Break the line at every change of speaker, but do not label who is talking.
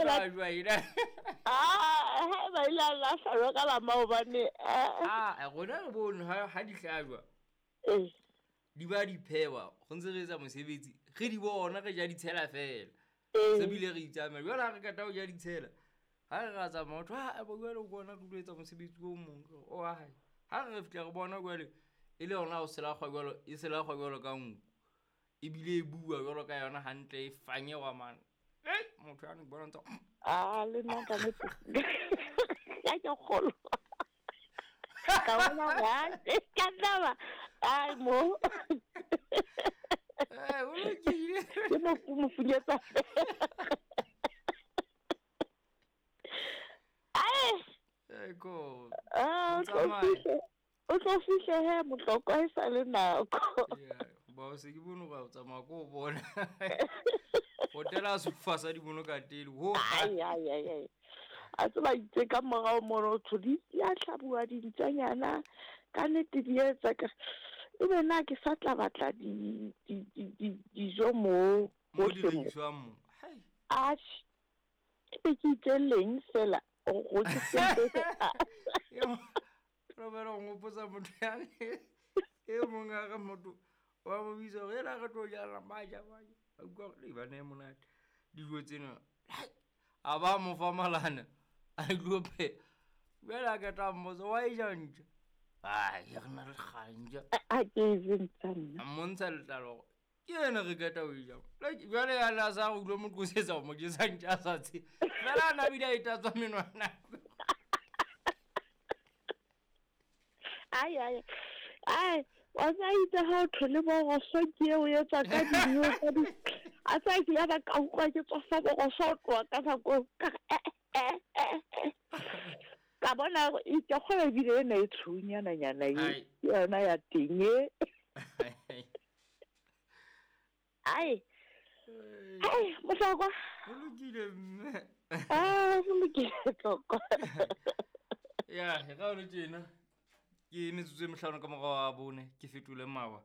hlajwa ena.
Ah, ha ba ile a lahlwa ka la maobane.
Ah, rona re bone ha di hlajwa.
Eh.
Di ba di phewa, go ntse re etsa mosebetsi. Re di bona re ja ditshela fela. Se bile re itsamela. Jwale ha re kata ho ja ditshela. Ha re ra tsamaya motho ha ba jwale o bona re tlo etsa mosebetsi o mong o wa hae. Ha re fihla re bona jwale e le yona o selakgwa jwalo, e selakgwa jwalo ka nku. Ebile e bua jwalo ka yona hantle e fanyewa mane. Ei, motho ya ne ke bona ntse.
Ah, le nna ka nnete. Ka ke kgolo. Ka bona ga ka taba. Ai mo.
Eh, o lokile.
Ke mo mo funyetsa. Ai.
Eh, ko.
Ah, o tlo fihle he motlokwa e sa le nako.
Yeah, ba o se ke bone gore o tsamaya ko o bona. Hotela a sofa sa di bono ka tele. Ho.
Ai ai ai ai. A tseba itse ka morao mono tho di ya hlabuwa dintsanyana ka nnete di etsa ka ebe na ke sa tla batla di di di dijo mo
mo di rekiswang mo. Hai.
Atjhe. Ebe ke itse leng fela go ke sente.
Robert o ngopotsa motho yane e mong a re motho wa mo bitsa gore ela re tlo jala maja maja a utlwa gore ba ne monate dijo tsena a ba mo fa malana a tlo phe jale a keta mmotsa wa e ja ntja ai re na le ganja
a ke e je ntja nna
a mmontsha letlalo ke ene re keta o e jang jale yane a sa go utlwa mo qosetsa go mo jesa ntja a sa tse fela a nabile a e tatswa menwana.
Ai ai ai wa tsa itse ha o thole boroso ke eo etsa ka dijo tsa di a tsa ke ya ba ka utlwa ke tswa boroso o tloha ka nako ka ka bona e ke kgona ebile ena e tshweunyana-nyana e yona ya teng e. Ai. Ai, mohlokwa.
Go lokile mme.
Ah, go lokile tlokwa.
Ya, ga o le tjena. Ke metsotso e mehlano ka morago ga bone ke fetole mawa.